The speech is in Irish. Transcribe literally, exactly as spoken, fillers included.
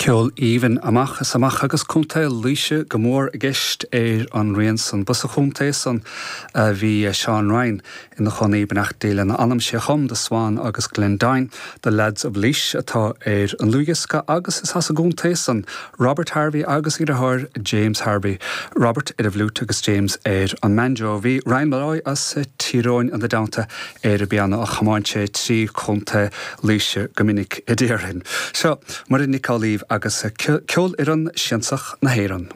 Ceol aoibhinn amach is amach agus Contae Laoise go mór i gceist ar an rian san. Ba sa chontae san a bhí Seán Ryan ina chónaí beannacht Dé lena anam sé a chum The Swan agus Glendine, The Lads of Laois atá ar an dlúthdhiosca agus is as an gcontae san Robert Harvey agus a dheartháir James Harvey. Robert ar an bhfliúit agus James ar an mbanjo. Bhí Ryan Molloy as Tír Eoghain ina dteannta ar an bpianó a chomáin sé trí Chontae Laoise go minic a déarfainn. Seo Muireann Nic Amhlaoibh agus ceolfhoireann siansach na hÉireann.